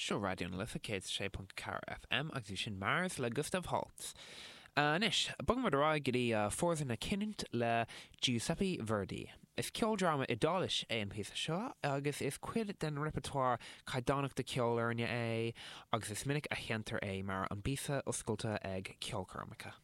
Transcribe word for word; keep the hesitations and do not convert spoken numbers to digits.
Seo Raidió na Life céad sé ponc ceathair FM agus bhí sin Mars le Gustav Holst. Anois, bogfaimid ar aghaidh go dtí Forza na Cinniúna le Giuseppe Verdi. Is ceoldráma Iodáilis é an píosa seo agus is cuid den repertoire caighdeánach de ceolfhoirne é agus is minic a sheinntear é mar an bpíosa oscailte ag ceolchoirmeacha.